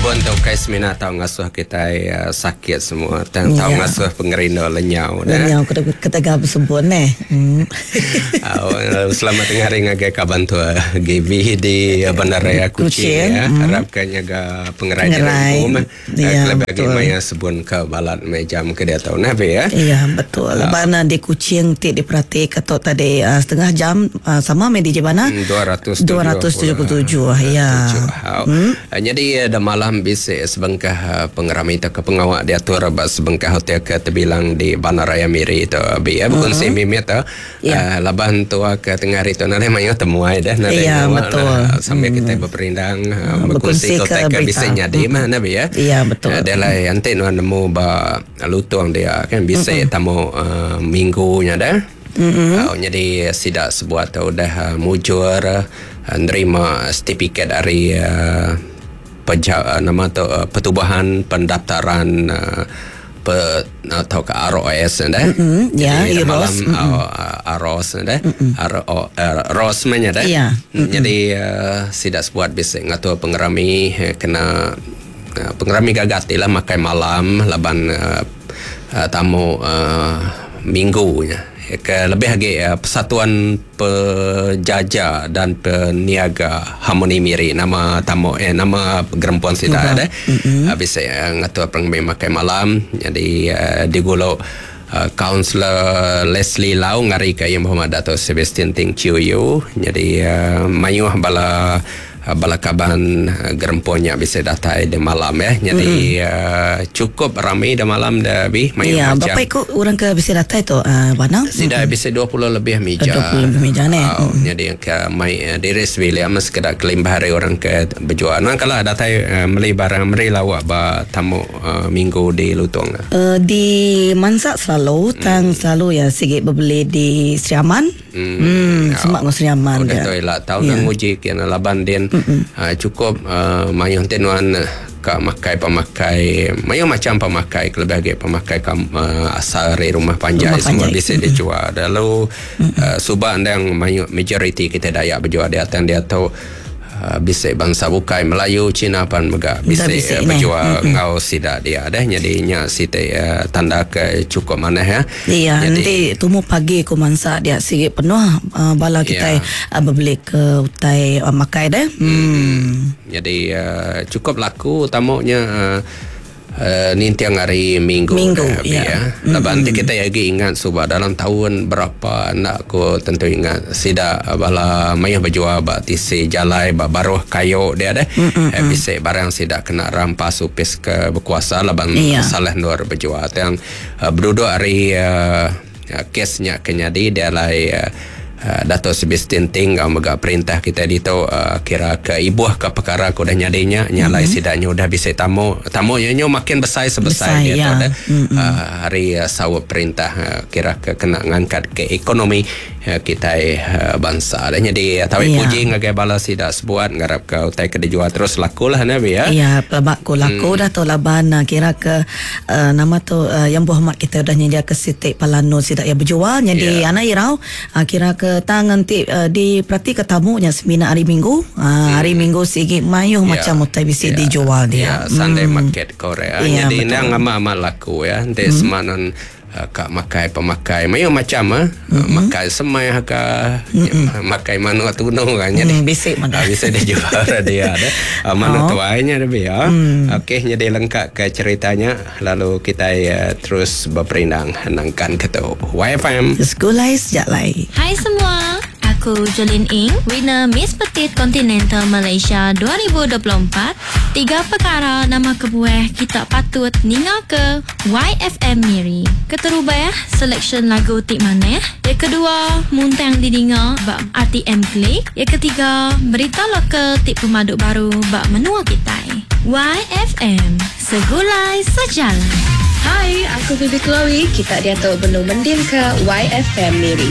Sebun tu ukai semina tau ngasuh kitai sakit semua tang tau ngasuh pengerindu lenyau dah. Lenyau ketegal besebun neh. Au selamat tengah hari ngagai kaban tua GB di Bandaraya Kuching ya. Arap ka nyaga pengerai diri empu meh. Kelebih agi maya sebun ke balat meh jam ke diatu neh be ya. Iya betul. Laban di Kuching ti diperatika tu tadi setengah jam sama meh DJ Bana. 277. Ya. Nyadi da malam bisi sebengkah pengerami tauka pengawa diatur ba sebengkah hotel ke tebilang di Bandaraya Miri tu abi ya bekunsi mimit tu laban tua ke tengah hari tu nadai mayuh temuai deh nadai ngawa lah sambil kitai beperindang bekunsi ke utai ke bisi nyadi mah ne abi ya. Deh alai enti nuan nemu ba Lutong dia kan bisi tamu minggu nya deh. Nyadi sida sebuat tu udah mujur nerima setipiket ari peja nama tu Pertubuhan Pendaftaran pe tauka ROS nya deh. Jadi malam ROS nya deh. ROS meh nya deh. Nyadi sida sebuat bisi ngatur pengerami kena Pengerami gaga ti lah makai malam laban tamu minggu nya ke lebih agi Persatuan Pejaja dan Peniaga Harmoni Miri nama tamu eh nama gerempung sida deh bisi ngatur pengerami makai malam nyadi digulu Kaunselor Leslie Lau ngarika Yang Berhormat Dato Sebastian Ting Chiew Yew nyadi mayuh bala Bala kaban gerempung nya bisi datai da malam ya. Nyadi cukup rami da malam da bi mayuh Ya, macam. berapa iku orang ke bisi datai tu Bana? Sida bisi 20 lebih mija. 20 lebih mija neh. Au, nyadi ke mai diri sebilik meh sekeda kelimpah ari orang ke bejual. Nang kala datai meli barang meri lauk ba tamu minggu di Lutong. Di mansa selalu tang selalu iya sigi bebeli di Sri Aman. Hmm, semak enggau Sri Aman Udah tu ila tau nang nguji kian laban din cukup mayuh enti nuan ka makai pemakai mayuh macam pemakai kelebih agi pemakai asal ari rumah panjai semua bisi dijual. Lalu suba endang mayuh majoriti kitai Dayak bejual diatu diatu. Bisi bansa bukai Melayu, Cina pan mega bisi bejual enggau sida dia deh. Nyadi nya siti tanda ke chukup manah ya. Iya, enti tumu pagi ku mansa dia sigi penuh bala kitai bebeli ke utai makai deh. Nyadi chukup laku tamu nya. Ninting hari minggu Minggu, dah abi ya. ya. Laban enti kitai agi ingat suba dalam taun berapa enda ku tentu ingat sida bala mayuh bejual ba tisi jalai ba baruh kayu dia deh. Eh, bisi barang sida kena rampas opis ke bekuasa laban Ya. salah endur bejual. Tang eh, beduduk ari eh, Kes nya ke nyadi di alai Dato Sebastian Ting enggau mega perintah kitai ditu kira ke ibuh ke pekara ke udah nyadi nya nya alai sida nya udah bisi tamu tamu nya nyu makin besai sebesai diatu deh ari saup perintah kira ke kena ngangkat ke ekonomi kitai bansa deh nyadi tabi puji ngagai bala sida sebuat ngarap ke utai ke dijual terus laku lah ne bi ya. Iya pelaba ku laku dah tu laban kira ke Nama tu Yang Berhormat kitai udah nyediaka siti palan endur sida iya bejual nyadi anak irau kira ke tang enti diperatika tamu nya semina hari minggu hari minggu sigi mayuh macam utai bisi dijual dia. Ya Sunday market ko orang nyadi endang amat amat laku ya enti sema nan ka makai pemakai mayuh macam ah makai semai ka makai manuk tunu ka nyadi bisi mega bisi dijual dia deh manuk tuai nya lebih ya. Okey nyadi lengka ke cherita nya lalu kitai terus beperindang nangkan ke tu. YFM. Segulai sejalai. Hai semua, aku Jolin Ing, winner Miss Petite Continental Malaysia 2024. Tiga pekara nama kebuah kita patut ninga ke YFM Miri. Keterubah, selection lagu ti manah. Yang kedua, muntang didinga ba RTM Click. Yang ketiga, berita lokal ti pemadu baru ba menua kitai. YFM, Segulai Sejalai. Hai, aku Bibi Chloe. Kita diatu benung mendingka YFM Miri.